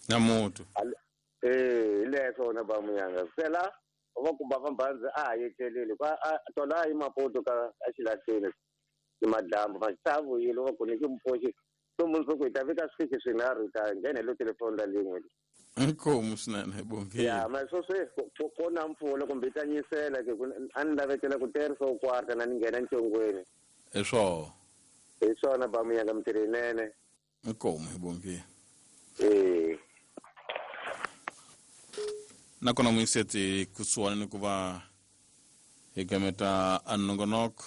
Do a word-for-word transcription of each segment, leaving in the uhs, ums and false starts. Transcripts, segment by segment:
Na mutu. Eh, hi leswo na ba muyanga. Sela va ku ba vambandzi a ha yetlelile kwa tola yi Maputo ka a xilahleni ni madyambu va ta vuyile va ku ni ki mupfoxi so mundzuku hi ta vika swifiki swinharhu hi ta nghena hi lo telefoni la lin'we. Inkomu swinene hi bongile. Ya, ma swo swe ko na mpfula kumbe yi ta nyisela ke a ni lavetela ku terisa u kwarta na ni nghena ncongweni. Hi swona. Hi swona ba muyanga mintirho yinene. Inkomu hi bongile. Eh. Nakona muyiseti kusuhani ni ku va hi gameta a nongonoko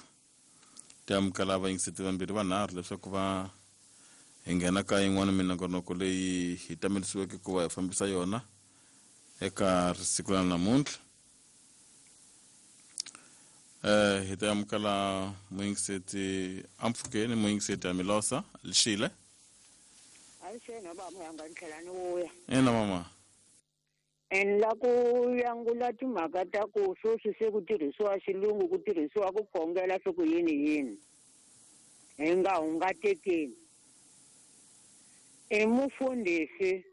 ti amukela vayingiseti vambirhi vanharhu leswaku va hi nghena ka yin'wana minongonoko leyi hi tamelisiweke ku va hi fambisa yona eka siku ra namuntlha. Eh hi ta amukela muyingiseti ampfukeni muyingiseti ya Milosa Lishile. Avuxeni ba muyanga ni tlhela ni vuya. Ina mama. En la ku yangula timhaka ta ku sweswi se ku tirhisiwa xilungu ku tirhisiwa ku khongela swi ku yini yini hi nga hungatekeni. I mufundhisi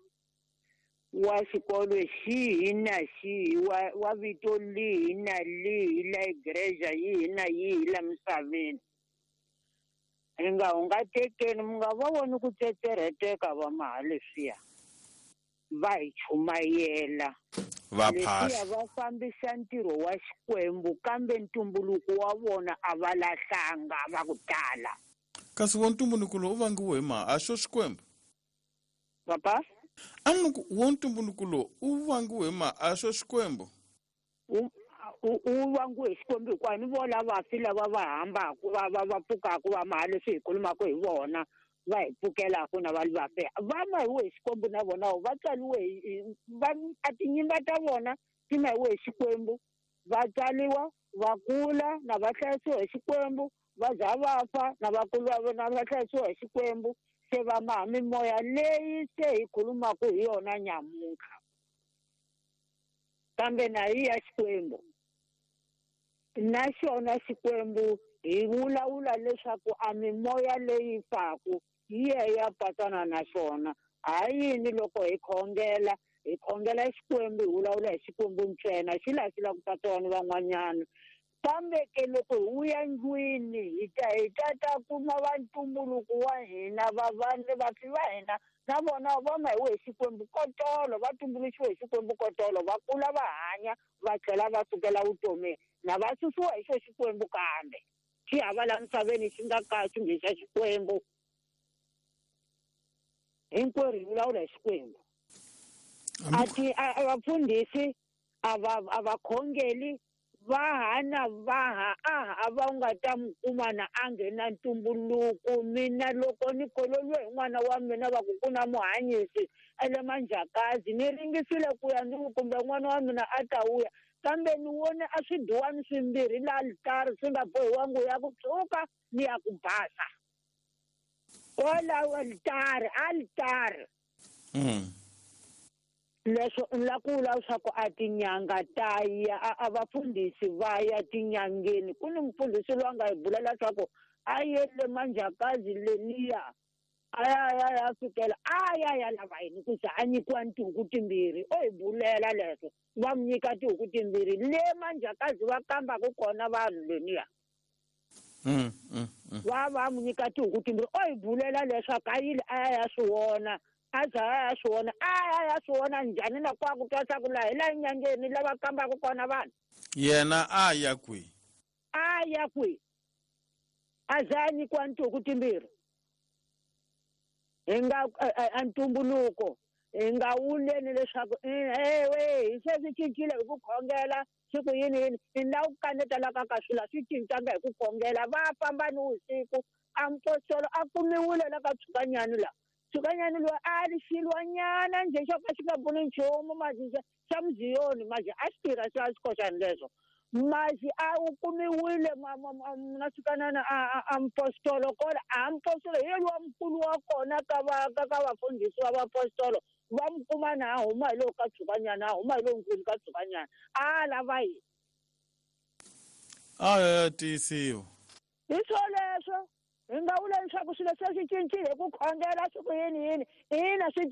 wa xikolo xihi na xihi wa wa vito lihi na lihi la igreja yihi na yihi la misaveni hi nga hungatekeni mi nga va voni ku tsetserheteka va maha leswiya va hi chumayela va phahla va fambisa ntirho wa Xikwembu kambe ntumbuluko wa vona a va lahlanga va ku tala. Kasi wo ntumbuluko lowu u vangiwe hi ma a xo Xikwembu? Papa? A ni ku wo ntumbuluko lowu u vangiwe hi ma a xo Xikwembu? U u vangiwe hi Xikwembu hikuva ni vona vafi lava va hambaka va va va pfukaka va maha leswi hi khulumaka hi vona va hi pfukelaka na va vafe va mahiwe hi Xikwembu na vona va tswariwe hi va a tinyimba ta vona ti mahiwe hi Xikwembu va tswariwa va kula na va hlayisiwa hi Xikwembu va za va fa na va kula na va hlayisiwa hi Xikwembu se va maha mimoya leyi se hi khulumaka hi yona nyamuntlha kambe na yi ya Xikwembu na xona Xikwembu hi vulavula leswaku a mimoya leyi faku yi ya ya patsana na xona. Ha yini loko hi khongela hi khongela Xikwembu hi vulavula hi Xikwembu ntsena xi laha xi lava ku patsana ni van'wanyana kambe ke loko hi vuya ndlwini hi ta hi ta ta kuma va ntumbuluko wa hina va vanhu vafi va hina na vona va mahiwe hi Xikwembu kotolo va tumbuluxiwe hi Xikwembu kotolo va kula va hanya va tlhela va sukela vutomini na va susiwa hi xo Xikwembu kambe xi hava la misaveni xi nga ka xi nge xa Xikwembu. Hinkwerhu hi vulavula hi Xikwembu. A ti a vafundhisi a va a va khongeli va hana va ha a va nga ta mi kuma na a nghena ntumbuluko. Mina loko ni kololiwe hi n'wana wa mina va ku ku na muhanyisi ele Manjakazi ni ringisile ku ya ni kumbe n'wana wa mina a ta vuya kambe ni vone a swiduwani swimbirhi la alitari swi nga bohiwangi ya ku tshuka ni ya ku basa kwalaho alitari alitari. Leswo ni la ku vula leswaku a tinyanga ta ya a vafundhisi va ya tinyangeni ku ni mufundhisi loyi a nga hi bula leswaku a yele Manjakazi leniya a ya ya ya fikela a ya ya lava yini ku za a nyikiwa tihuku timbirhi o hi bulela leswo va mu nyika tihuku timbirhi le Manjakazi va kambaka kona vanhu leniya va va mu nyika tihuku timbirhi o hi bulela leswaku a yile a ya ya swi vona a za a ya swi vona a ya ya swi vona njhani na kwa ku twa swa ku laha hi la nyangeni lava kambaka kona vanhu. Yena a ya kwihi? A ya kwihi? A za a nyikiwa tihuku timbirhi hi nga a ntumbuluko hi nga wuleni leswaku ewe hi se swi cincile hi ku khongela swi ku yini yini ni la ku kaneta la ka ka swilo a swi cincanga hi ku khongela va famba ni vusiku a mpostolo a kumiwile la ka Tshukanyani la Tshukanyani loyi a ri xilwanyana njhe xo ka xi nga pfuni nchumu mati xa muziyoni mati a xi tirha xa xikoxani leswo mati a wu kumiwile na Tshukanyana a a mpostolo kona a mpostolo hi yena wa mukulu wa kona ka va ka ka vafundhisi va vapostolo va mu kuma na a huma hi lowu ka Tshukanyana a huma hi lowu nkulu ka Tshukanyana a lava yini a ya tiyisiwa hi swo leswo hi nga vula leswaku swilo se swi cincile hi ku khongela swi ku yini yini ina swi